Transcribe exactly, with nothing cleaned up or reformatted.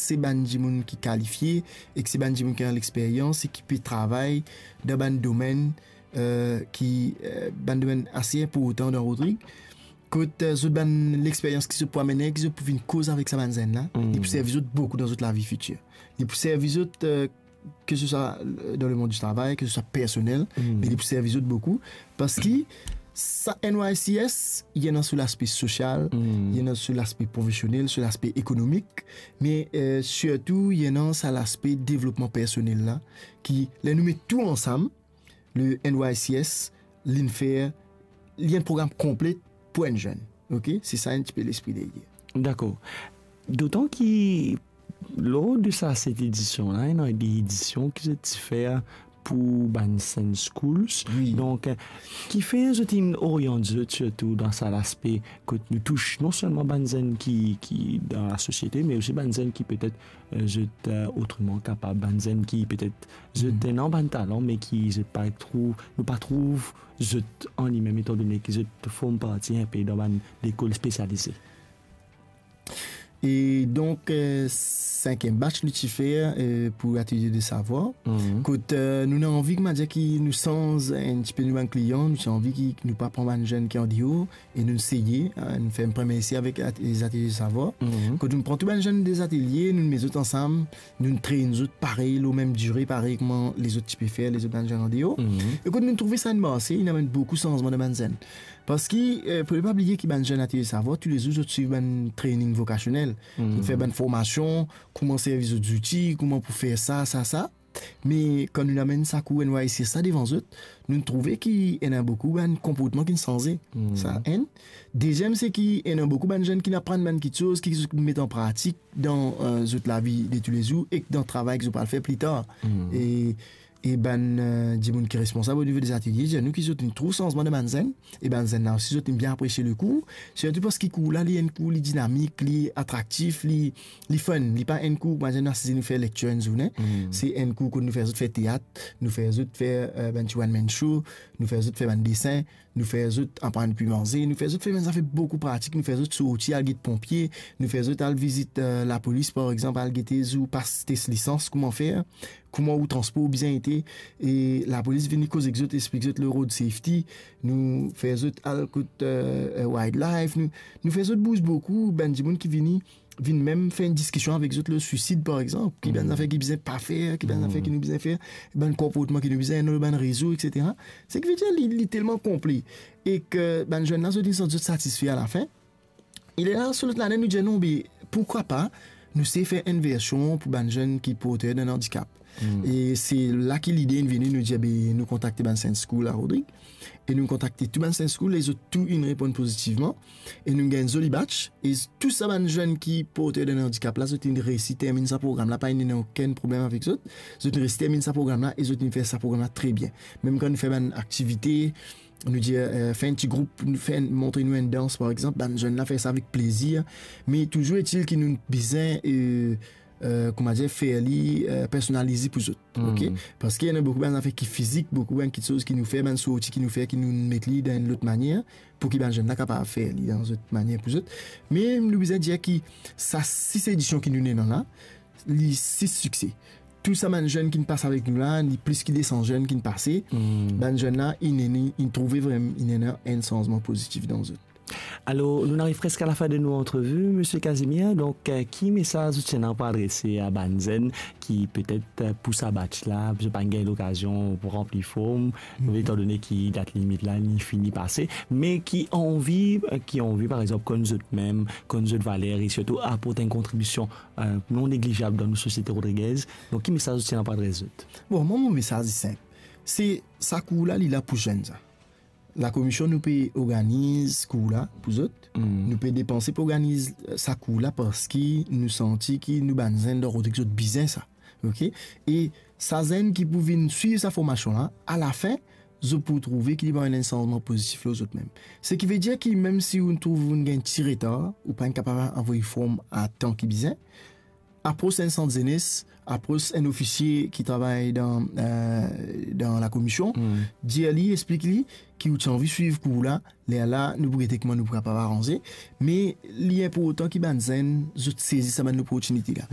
se bann dimoun ki kalifie, ek se bann dimoun ki ena lexperyans e ki pe travay dan bann domenn, eh, ki, eh, bann domenn ase inportan dan Rodrig. Kot, eh, zot bann lexperyans ki zot pou amenn, ki zot pou vinn koz avek sa bann zenn la, li pou servi zot boukou dan zot lavi fitir. Li pou servi zot, eh, ke se swa, eh, dan lemond di travay, ke se swa personel, me li pou servi zot boukou. Parski sa N Y C S, li ena so laspe sosial, li ena so laspe profesionel, so laspe ekonomik, me, eh, sirtou, li ena sa laspe devlopman personel la, ki, ler nou met tou ansam, le N Y C S, li'nn fer, li enn program konplet pou enn zenn. Ok? Se sa enn tipe lespri deryer. Dakor. Dotan ki, lor de sa set edision la, ena de edision ki zot ti fer pou bann Saint Schools. Wi. Donk, eh, kifer zot inn oriant zot sirtou dan sa laspe kot nou tous non selman bann zenn ki, ki dan lasosiete, me osi bann zenn ki petet, eh, zot, eh, otreman kapab, bann zenn ki petet zot ena bann talan, me ki zot pa trouv, nou pa trouv zot an limem, etandone ki zot form parti inpe dan bann lekol spesialize. E donk, eh, sinkiem batch nou ti fer, eh, pou Atelier de Savoir. Kot, eh, nou ena anvi, koumadir, ki nou sanz enn tipe nou bann klian, nou ti anvi ki nou pa pran bann zenn ki andeor, e nou seye, eh, nou fer enn premie ese avek at-, Atelier de Savoir. Kot nou pran tou bann zenn de Atelier, nou met zot ansam, nou train zot parey, lor mem dire parey kouma lezot ti pe fer, lezot bann zenn andeor. E kot nou trouve sa inn marse, inn amenn boukou sanzman dan bann zenn. Parski, eh, pou nou pa bliye ki bann zenn Atelier Savoir, toulezour zot swiv bann training vokasionel. Zot fer bann formasion, kouma servi zot zouti, kouma pou fer sa, sa, sa. Me kan nou amenn sa kour N Y C S sa devan zot, nou trouve ki ena boukou bann konportman ki'nn sanze. Sa enn. Deziem, se ki ena boukou bann zenn ki'nn aprann bann kiksoz, ki zot met an pratik dan, eh, zot lavi de toulezour ek dan travay ki zot pral fer pli tar. E e bann, eh, dimoun ki responsab o nivo de zatelie dir nou ki zot inn trouv sanzman dan bann zenn, e bann zenn la osi zot inn bien apresie lekour, sirtou parski kour la, li enn kour, li dinamik, li atraktif, li, li fun, li pa enn kour, par exanp, nou asize nou fer lektir enn zourne, se enn kour kot nou fer zot fer teat, nou fer zot fer, eh, bann ti one man show, nou fer zot fer bann desen, nou fer zot aprann kwi manze, nou fer zot fer bann zafer boukou pratik, nou fer zot sorti al get ponpie, nou fer zot al vizit, eh, lapolis, par exanp, al gete zour pas tes lisans, kouma fer, kouma ou transpor bizin ete, e lapolis vini koz ek zot, explik zot le road safety, nou fer zot al kot, eh, eh, wildlife, nou, nou fer zot bouz boukou, bann dimoun ki vini, vinn mem fer enn diskision avek zot lor swisid, par exanp, ki bann zafer ki bizin pa fer, ki bann zafer ki nou bizin fer, bann konportman ki nou bizin ena lor bann rezo, et cetera. Sekivedir li, li telman konple. Ek bann zenn la, zot inn santi zot satisfe alafin. E lerla, so lot lane, nou dir, non, be, pourkwa pa, nou sey fer enn version pou bann zenn ki porter d'an andikap. E se la ki lide inn vini, nou dir, be, nou kontakte bann Saint School a Rodrig, e nou kontakte tou bann Saint School, e zot tou inn reponn pozitivman, e nou gagn zoli batch, e tou sa bann zenn ki porter d'an andikap la, zot inn resi terminn sa program la, pa inn ena okenn problem avek zot, zot inn resi terminn sa program la, e zot inn fer sa program la tre bien. Mem kan nou fer bann aktivite, nou dir, eh, fer enn ti group, nou fer enn, montre nou enn dans, par exanp, bann zenn la fer sa avek plezir, me touzour etil ki nou bizin, eh, eh, koumadir, fer li, eh, personalize pou zot, ok? Parski ena boukou bann zafer ki fizik, boukou bann kiksoz ki nou fer, bann sorti ki nou fer, ki nou met li dan enn lot manier, pou ki bann zenn la kapav fer li dan zot manier pou zot. Me nou bizin dir ki sa sis edision ki nou ena la, li sis sikse. Tou sa bann zenn ki'nn pas avek nou la, li plis ki de san zenn ki'nn pase. Bann zenn la, inn, inn, inn trouve vrem, inn ena enn sanzman pozitif dan zot. Alor, nou ariv preske a lafin de nou antrevi, Misie Casimir. Donk, eh, ki mesaz ou ti ena pou adrese a bann zenn ki petet, eh, pou sa batch la, zot pa'nn gagn lokazion pou ranpli form, etandone ki dat limit la, li fini pase, me ki anvi, eh, ki anvi, par exanp, konn zot mem, konn zot valer, e sirtou aport enn kontribision, eh, non neglizab dan nou sosiete rodrigez. Donk, ki mesaz ou ti ena pou adres zot? Bon, mwa, mo mesaz li sinp. Se sa kour la, li la pou zenn sa. Lakomision, nou pe organiz kour la pou zot. Nou pe depanse pou organiz, eh, sa kour la parski nou santi ki nou bann zenn dan Rodrig zot bizin sa. Ok? E sa zenn ki pou vinn swiv sa formasion la, alafin, zot pou trouve ki li pou amenn enn sanzman pozitif lor zot mem. Sekivedir ki mem si ou trouv ou gagn ti retar, ou pa'nn kapav avoy form a tan ki bizin, apros enn sant zenes, apros enn ofisie ki travay dan, eh, dan lakomision, dir li, explik li ki ou ti anvi swiv kour la, lerla nou pou gete kouma nou pou kapav aranze, me li inportan ki bann zenn, zot sezi sa bann loportinite la.